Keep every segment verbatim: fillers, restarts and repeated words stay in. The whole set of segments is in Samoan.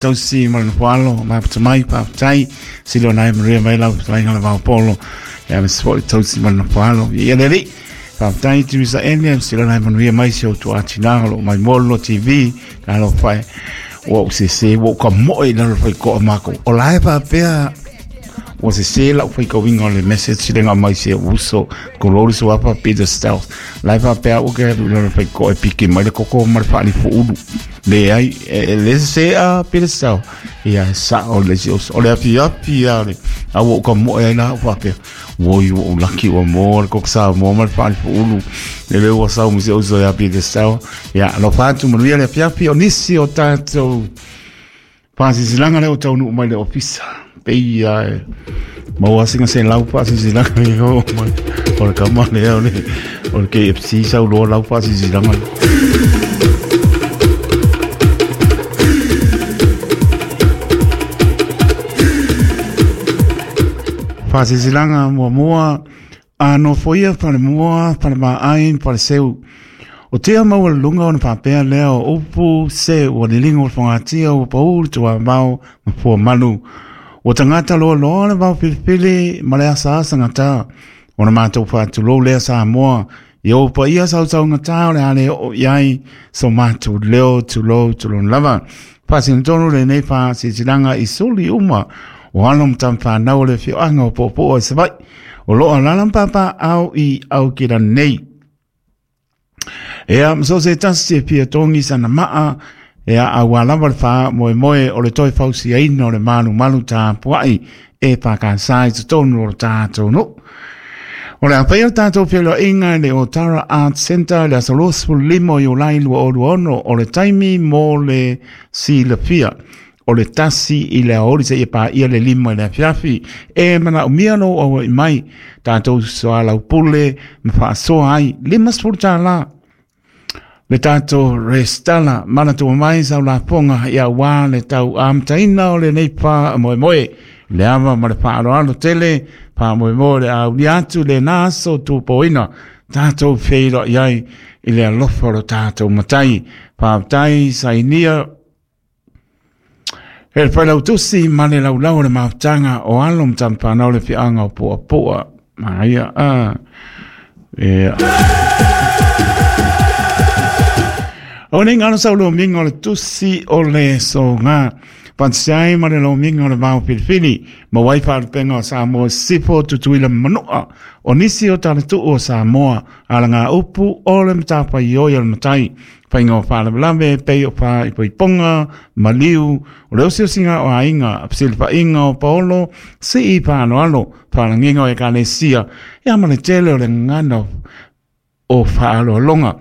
Tausi ma le nofoalo maputamai faafetai silona ai maria mai lau fetalaiga le vaopolo ia ma se fo'i tausi ma le nofoalo ia le alii faafetai Tumisa ene silona ai manuia mai si outou atinaga o loo mai mo le T V talofa e ua ou sesē ua ou kamo'e i lalo faiko'a makou o la e faapea ua sesē la'u faikauiga o le message lega mai se uso kololi suafa Peter Stealth la e faapea ua ke alu i lalo faiko'a e piki mai le koko ma le fa'alifu'ulu leai e le sesē a Peter Stealth ia sa'o le isi oso o le afiafi a le a ua ou kamo'e ai la ou faapea oi ua ou laki ua moa le koko Samoa ma le fa'alifu'ulu le lea ua sau ma si uso ia Peter Stealth ia alofa atu manuia le afiafi o nisi o tatou fa'asisilaga lea o taunuu mai le ofisa peia e maua singa se lau fa'asisilaga i o mai o le kama lea o le o le K F C sauloa lau fa'asisilaga fa'asisilaga muamua a nofoia falemua falemaai faleseu o tea maua le luga ona faapea lea o upu se ua liliga o le fagatia ua paū le tuavao ma fuamalu ua tagata loaloa le vaofilifili ma le asaasa gatā ona matou faatulou lea Samoa ia ou paia sausaugatā o le a le oo i ai so matou leo tulou tulona lava faasinotonu lenei faasilasilaga i suli uma o alo ma tamafanau o le afioaga o Puapua i Savaii o loo alala ma papaao i Aukilani nei. Ea ma so se tasi e fia togi sana maa ea auā lava le faamoemoe o le toe fausiaina o le malumalu tapua'i e pakasā i totonu o le tatou nuu. O le a faia le tatou feoloa'iga i le Otara Art Centre i le aso luasefululima o Iulai lua o lua ono o le taimi mo le silafia o le tasi i le aoli seia paia le lima i le afiafi e manaʻomia lou aua'i mai tatou soalaupule ma faasoa ai limasefulu tālā le tatou restala manatua mai saulafoga ia auā le tauamataina o lenei faamoemoe le ava ma le faaaloalo tele faamoemoe le aulia atu lenā aso tupoina tatou feiloai ai i le alofa o lo tatou matai faafetai sainia e le failautusi ma le laulau o le mafutaga o alo ma tamafanau le fiaga o Puapua maia a e o nei ngalo sau lomiga o le tusi o le soga Fansiai ma le lomiga o le vaofilifili ma wai faalupega o Samoa sifo tutuila manu'a o nisi o talatuu o Samoa alaga upu o le matafaioi o le matai faiga o faalavelave pei o faaipoipoga maliu o le osiosiga o aiga fesilifa'iga o paolo si'i faaloalo faalagiga o ekalesia ia ma le tele o le gagana o faaaloaloga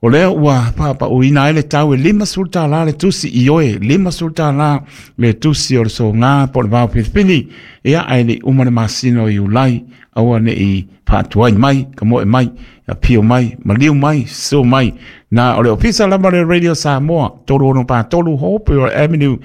o lea ua paapa'uina ai le tau e limasefulu tālā le tusi i oe limasefulu tālā le tusi o le sogā po o le vaofilifili ia ae le'i uma le masina o Iulai aua ne'i faatuai mai kamo'e mai apio mai maliu mai susu mai na o le ofisa lava le Radio Samoa tolu ono patolu Hopewell Avenue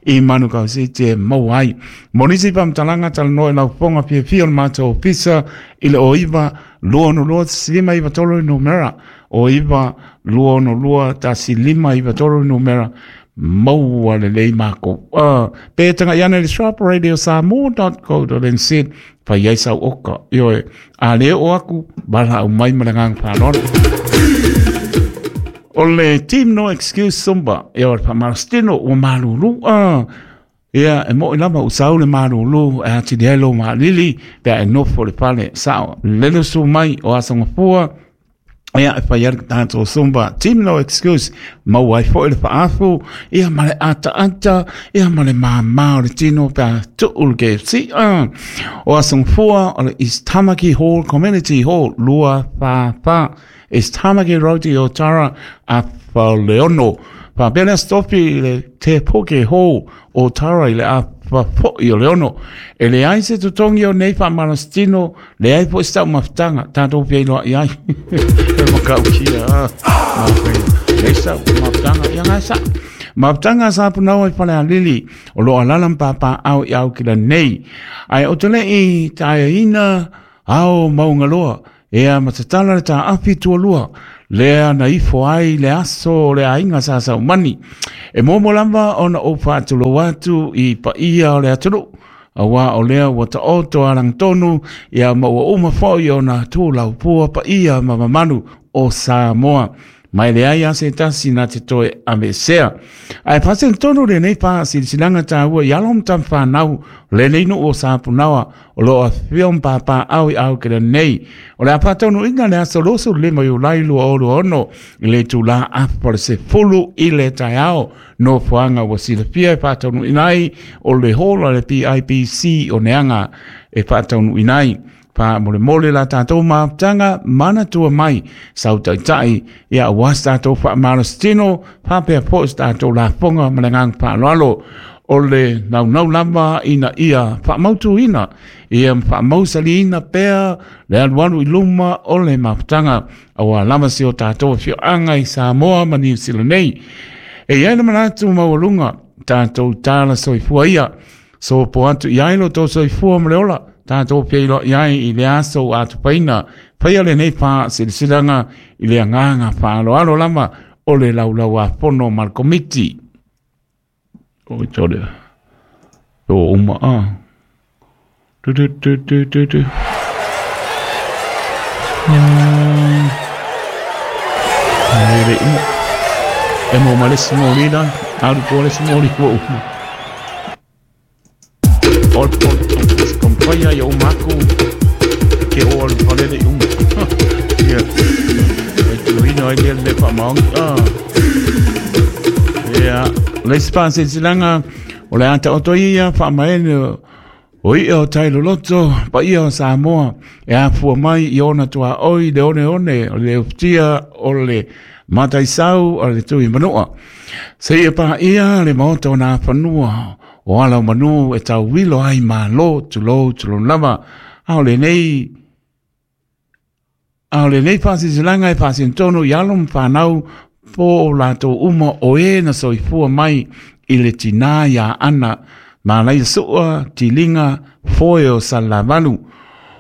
i Manukau City e maua ai mo nisi faamatalaga talanoa i laufofoga fiafia o le matou ofisa i le o iva lua ono lua lima iva tolu numera o iva lua ono lua tasi lima iva tolu numera maua lelei makou uh, pe taga'i ane le shop radio samoa dot co dot nz fai ai sau oka ioe a lē oo aku valaau mai ma le agaga faaaloalo o le team no excuse Zumba ia o le faamalositino ua malulu a ia e mo'i lava usau le malulu e atili ai lou maalili pe a e nofo le fale sa'o lele usu mai o asogafua ia e fai ai le tatou Zumba team no excuse maua ai fo'i le faafu ia ma le ataata ia ma le māmā o le tino pe a tuu le K F C uh. O asogafua o le East Tamaki Hall Community Hall lua whā whā East Tamaki Road i Otara a Faleono faapea lea stofi i le Te Poke Hall o Otara i le afafo'i o le ono e leai se totogi o nei faamalositino leai fo'i se ta'umafutaga tatou feiloa'i ai e makaukia leai se ta'umafutaga ia gae sa'a mafutaga sa punau ai Falealili o loo alala ma papaao i Aukilani nei ae o te le'i taeaina ao maugaloa ea ma tatala le ta'afi tualua Lea na ifo ai le aso le aiga sa saumani. E momo lava ona ou faatulou atu i paia o le atunuu. Auā o lea ua taoto alagotonu ia ma ua uma foi ona tulaupua paia ma mamalu o Samoa. Mai leai a se tasi na te toe aveesea. Ae faasenatonu lenei faasilasilaga taua i alo ma tamafanau lenei nuu o Sapunaoa o loo afifio ma papaaao i aukele nei. O le a faataunuuina le aso luasefulu lima Iulai lua o lua ono i le itulā afa o le sefulu i le taeao. Nofoaga ua silafia e faataunuuina ai o le hall a le P I P C o Neaga e faataunuuina ai. Faamolemole la tatou mafutaga manatua mai sautaitai ia aua se tatou faamalositino faapea foi se tatou lafoga ma le agaga faaaloalo. O le naunau lava ina ia faamautuina ia ma faamausaliina pea le alualu i luma o le mafutaga auā lava si o tatou afioaga i Samoa ma Niu Sila nei. E i ai le manatu maualuga tatou tala soifua ia sopo atu i ai lo tou soifua ma le ola tatou feiloai ai i le aso ua atupaina faia lenei faasilasilaga i le agaga faaaloalo lava o le laulauafono ma le komiti. O i tole o uma a. Tu tu tu tu tu tu. Ai le imo. E mo malesi mo lila, alu po le mo li mo uma. Ol pol paia i o mako ke o alu palele i uma. Ia. Ai tuina ai lea le whaamaongi. Ah. Ia. Le faasilasilaga o le ata o toi ia faamaene o ia o tailoloto paia o Samoa e afua mai i ona tuaoi le oneone o le ufitia o le mataisau o le tui manua. Seia paia le maota o nā whanua o ala o manu e tauwilo ai malo tulou tulou lava. A o lenei a o lenei faasilasilaga e faasinatonu i alo ma fanau po o latou uma o e na soifua mai i le tinā iā Ana Malaia Sua Tiliga Foe o Salelavalu.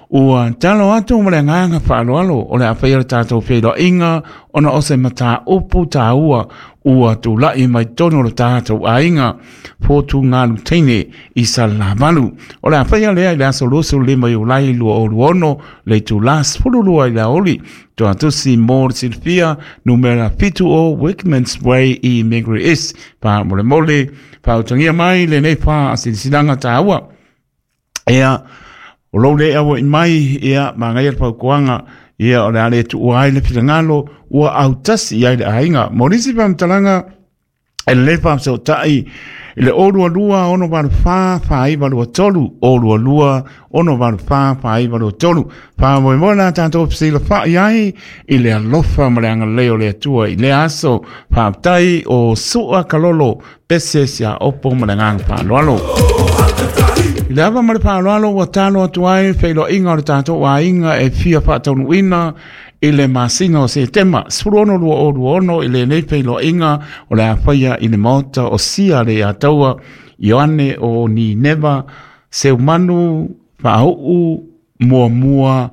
Ua talo atu ma le agaga faaaloalo o le a faia le tatou feiloaiga ona o se mataupu taua ua tula'i mai totonu o le tatou aiga fotugalu teine i Salelavalu. O le a faia lea i le aso luasefulu lima Iulai lua o lua ono le itulā sefulu lua i le aoauli. Tuatusi mo le silafia numera fitu o Workman's Way i Mangere East. Faamolemole faautagia mai lenei faasilasilaga taua. Ea o lou le aua i mai ia magaia le paukuaga ia o le a le tuua ai le finagalo ua autasi i ai le aiga. Mo nisi faamatalaga e lelei faafesootai i le o lua lua ono valu fa faaiva lua tolu o lua lua ono valu fa faaiva lua tolu. Faamoemoe la tatou fesilafai ai i le alofa ma le agalelei o le Atua i le aso. Faafetai o Sua Kalolo pese sia opo ma le agaga faaaloalo. I le ava ma le faaaloalo ua talo atu ai feiloaiga o le tatou aiga e fia faataunuuina i le masina o Setema sefulu ono lua o lua ono i lenei feiloaiga o le a faia i le maota o Sia le Ataua Ioane o Nineva Seumanu Faauu Muamua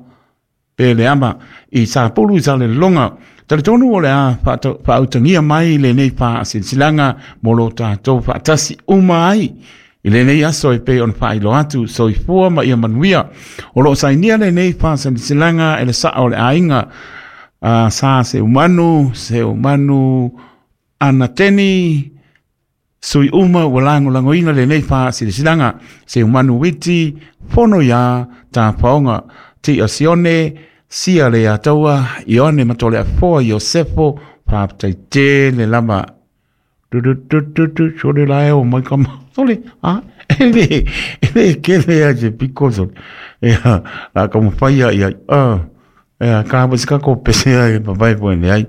Peleama i Sapulu i Salelologa. Talitonu o le a faautagia mai lenei faasilasilaga mo lo tatou faatasi uma ai i lenei aso e pei ona faailoa atu soifua ma ia manuia. O loo sainia lenei faasilasilaga e le saa o le aiga uh, sa Seumanu, Seumanu Anateni, sui uma ua lagolagoina lenei faasilasilaga. Seumanu Witi, Fono ia Tapaoga, Tia Sione, Sia le Ataua, Ioane Matole Afoa, Iosefo, faafetaitele lava. Tu tu tu tu tu, sole la e o mai kama. Sole, ah, e le, e le kele a se piko sole. Ea, la ka mawhaia ia, ah, ea, ka hapa sika ko pese ai, papai po ene ai.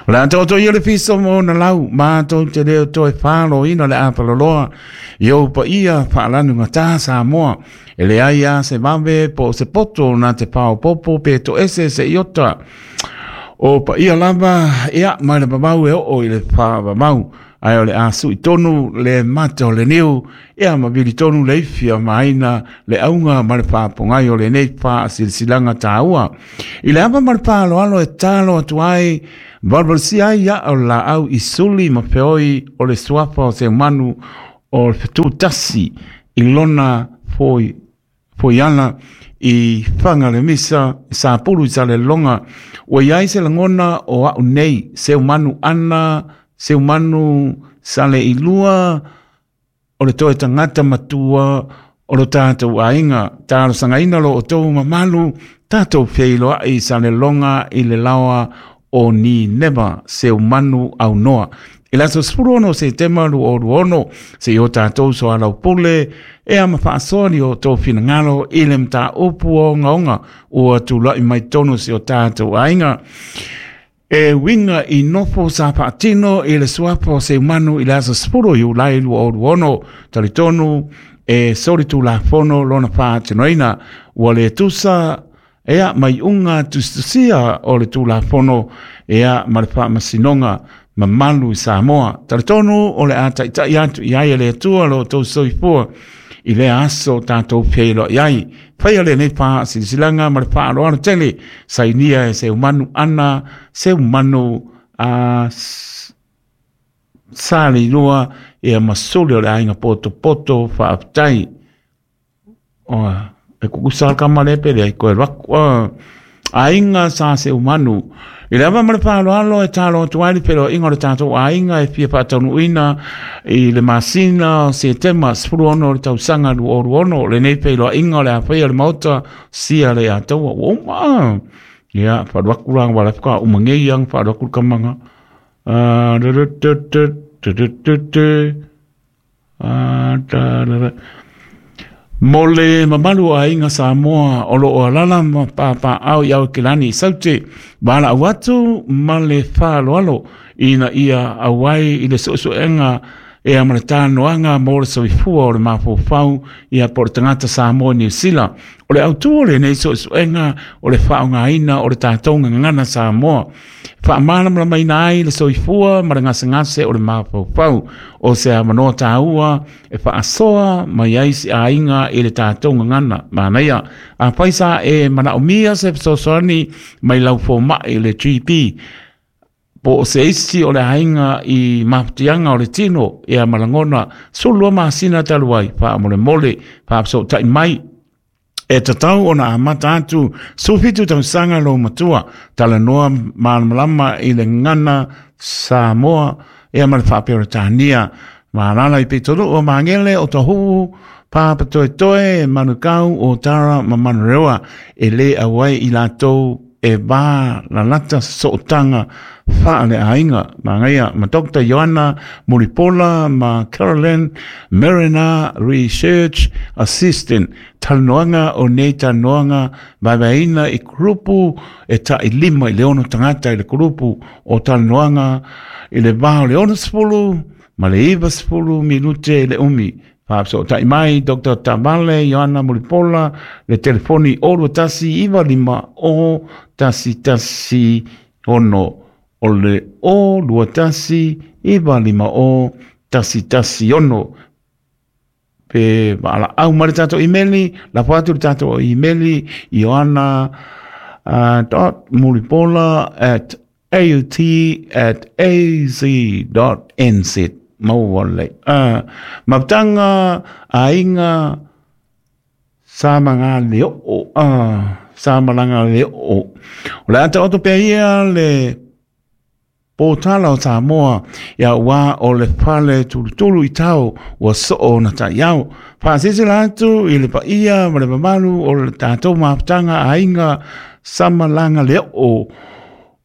O le ata o toi o le fiso mo na lau, mātou te leo toe whalo ina le apaloloa, i au pa ia whaalanu ngā Samoa. E le ai a se vave po se poto na te pao popo pe to ese se iota. O pa ia lava, ia, mai le mamau e oo i le wha mamau. Ae o le asu i tonu le mata o le niu, ia ma vili tonu le ifia maina le auga ma le whaapongai o le nei wha silsilanga tāua. I le apa ma le whaaloalo e talo atu ai, valvalsi ai ia o la au i suli ma feoi o le suafa o se manu o le fetu tasi i lona foi, foiana i whanga le misa, sa pulu i sa le longa. Ua iai se langona o au nei, se manu ana, se manu sa le ilua, o le toe tangata matua, o lo tātou ainga, tālo sangaina lo o tō mamalu, tātou whiiloa i sa le longa i le lawa o ni neva, se manu au noa. I laso sefulu ono se tema lu o ono, se i o tātou so alau pule, e ama whaasoa ni o tō whinangalo i le mta upu o ngaonga, ua tūlai mai tonu se o tātou ainga. E winga i nofo sa paatino i le suapo se manu i le aso sefulu i ulai lu o ono, talitonu e sori tū la fono lona whaatinoina, ua le tusa ea mai unga tustusia o le tū la fono ea ma le whaamasinonga mamalu i Samoa. Talitonu o le a taitai atu i ai le atua lo tō soifua i le aso tātou pēlo i ai. Whaia le nei pā silisilanga ma le whaaloalo tele sainia e se umanu ana, se umanu a sa le ilua e a masuli o le ainga poto poto whaaptai. O, e kukusa kama le pere ai koe raku. Ainga sa se umanu. I le awa ma le whaaloalo e tālo atu ai le pero inga o le tātou ainga e fia whaataunuina i le masina o se tema sefulu ono o le tausanga lu oru ono le nei pelo inga o le awhai o le mauta sia le ataua o uma. Ia, wharuaku ranga wala whaka umangei ang wharuaku kamanga. Mo le mamalu a inga Samoa o lo o alala ma pāpā au i au kilani saute wala au atu ma le whaaloalo ina ia awai i le suesuenga e a ma le tānoanga mo le soifua o le mafofau ia po le tangata Samoa Niu Sila. O le autua le nei suesuenga o le whaongaina o le tātonga ngana Samoa. Whaamalamalamaina ai le soifua ma le ngasengase o le mafofau o se a manoa tāua e whaasoa mai ai si ainga i le tātonga ngana. Mānaia, a paisa e manaomia se fesoasoani mai lau fōma'i le G P. Po o se isi o le ainga i mafutianga o le tino e a malangona sulua masina taluai wha mole wha tai mai e tatau ona amata atu sufitu tausanga lo matua talanoa malamalama i le ngana Samoa e a male whaapeo tānia malala i pitolu o mangele o tohu pāpatoetoe manukau o tara ma manurewa e le awai i lātou e vā lalata sootanga whaale ainga. Mangaia ma Doctor Ioana Mulipola ma Caroline Marina Research Assistant talanoanga o nei talanoanga vaivaina i kurupu e ta i lima i le ono tangata i le kurupu o talanoanga i le vā o le ono sefulu ma le iwa sefulu minute i le umi. Whaapso tai mai Doctor Tamale Ioana Mulipola le telefoni o tasi iwa lima o tasi tasi ono o le o lua tasi iwa lima o tasi tasi ono. Pe waala au ma le tātou imeli, la whatu le tātou imeli Ioana uh, dot mulipola at aut at az dot nz. Maua le. Uh, maptanga ainga sa mga leo o uh, sa malanga leo o. O le ata oto pea ia le pōtala o Samoa ia wā o le pale tulutulu i tau ua soo na tai au. Whaasese atu i le paia ma le mamalu o le tātou maptanga ainga sa malanga leo o.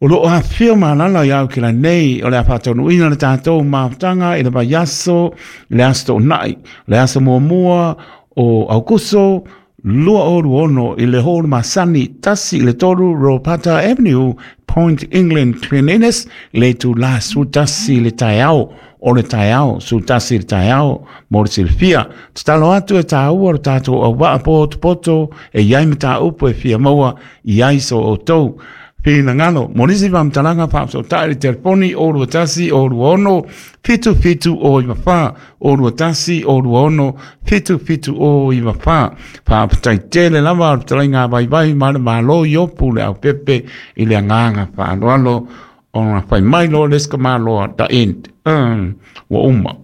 O lo a whio malala iau ki la nei o le a whātaunuina le tātou maptanga i le vaiaso, le aso nai, le aso muamua o Aukuso, lua oru ono i le hōru masani tasi i le toru Ropata Avenue, Point England, Twin Innes, le tu la su tasi le taiao, o le taiao, su tasi le taiao, mo le silfia. Tatalo atu e tāua o tātou au waa poto poto, e iai me tā upu e whia maua i ai so o tau. Finagalo. Mo nisi faamatalaga faafesootai le telefoni o lua tasi o lua ono fitu fitu o iva fa o lua tasi o lua ono fitu fitu o iva fa. Faafetai tele lava o le fetalaiga vaivai ma le Malo Iopu le aupepe i le agaga faaaloalo ona fai mai loa le isi maloa the end. Um, ua uma.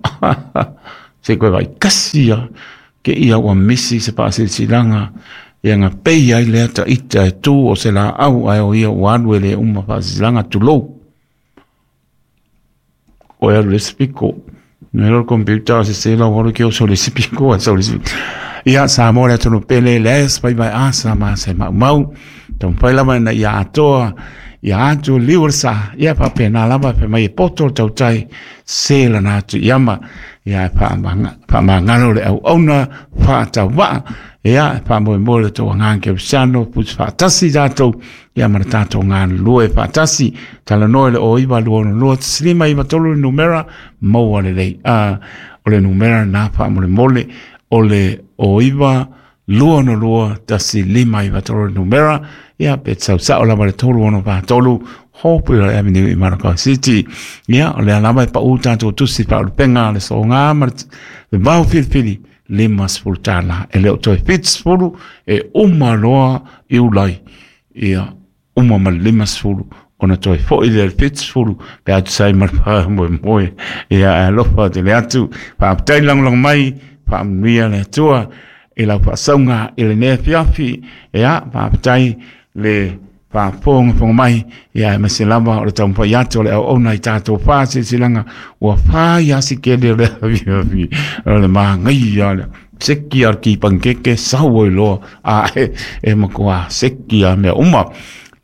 Se koe vai kasi ia ke ia ua misi se faasilasilaga ia gapei ai lea taʻita e tū o se laau ae o ia ua alu e lē uma faasilasilaga tulou. O e alu le isi piko. Mea le computer se se lau alu ke o so le isi piko a so le isi. Ia Samoa le atunuu pele le as pai vai asa ma se maumau. Taumafai lava ina ia atoa ia atu liu o le sa ia faapena lava fai mai e poto le tautai se lana atu iama ia faamagalo le auauna faatauvaa ia faamoemoe le tou agaga kerisiano pusi faatasi tatou ia ma le tatou galulue faatasi talanoa i le o iva lua ono lua tasi lima iva tolu le numera maua lelei. A o le numera lena faamolemole o le o iva lua ono lua tasi lima iva tolu le numera ia pe sausao lava le tolu ono fa tolu Hopewell Avenue i Manukau City. Ia, o lea lava e paʻu tatou tusi faaulupega le soga ma le vao filifili lima sefulu tālā. E le o toe fitu sefulu e uma loa Iulai. Ia, uma ma le lima sefulu ona toe foʻi lea le fitu sefulu pe atu sai ma le faamoemoe. Ia, e alofa tele atu. Faafetai lagolago mai, faamanuia le Atua i lau faasauga i lenei afiafi. Ia, faafetai le faafogafoga mai ia aemaise lava o le taumafai atu o le auauna i tatou faasilasilaga ua fai asi kele o le afiafi o le magaia le seki a le kipankeke sau ai loa a e, e matua seki a mea uma.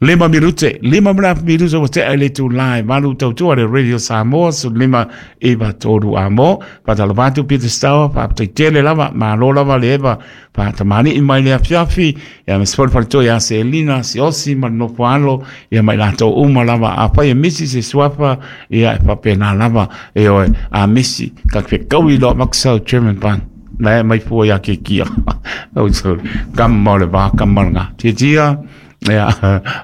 Lima minute, lima ma minute ua tea i le itulā e valu tautua le Radio Samoa su lima iva tolu a mo. Faatalofa atu Peter Stower, faafetai tele lava, malo lava le eva faatamaliʻi mai le afiafi. Ia ma se fale ia Selina, Siosi ma le nofo alo, ia ma i latou uma lava. Afai e misi se suafa, ia e faapena lava e oe a misi. Ka fekaui loa maksau German ban. Na e mai fua ia ke kia. Au sorry. Kama o le vā, kama o le ngā. Tia tia. Ia,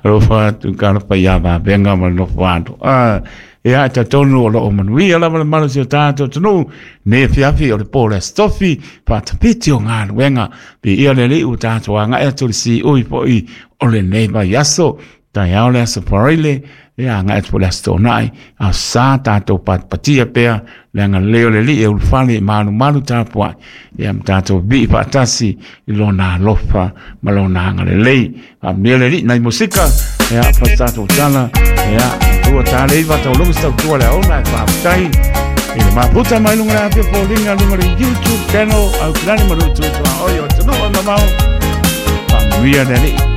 alofa atu ka alofa ia vavenga ma le nofo alo. Ah, ia, e talitonu o loo manuia lava le malosi o tatou atunuu. Nei afiafi o le po o le Aso Tofi, faatapiti o galuega. Piia le Alii ua tatou agaʻi atu i le siui foʻi o lenei vaiaso. Taeao le Aso Faraile, ia agaʻi atu foi le Aso Toonai, a sa tatou patipatia pea le agalelei o le Alii e ulufale i malumalu tapuaʻi. Ia ma tatou vii faatasi i lona alofa ma lona agalelei. Faamanuia le Alii nai musika, ia fa tatou tala, ia tua tale iva tauluga se tautua le aona e faafetai. I le maputa mai luga le afia foliga luga le YouTube channel au kilani ma lutu tua oi o atunuu e mamao. Faamanuia le Alii.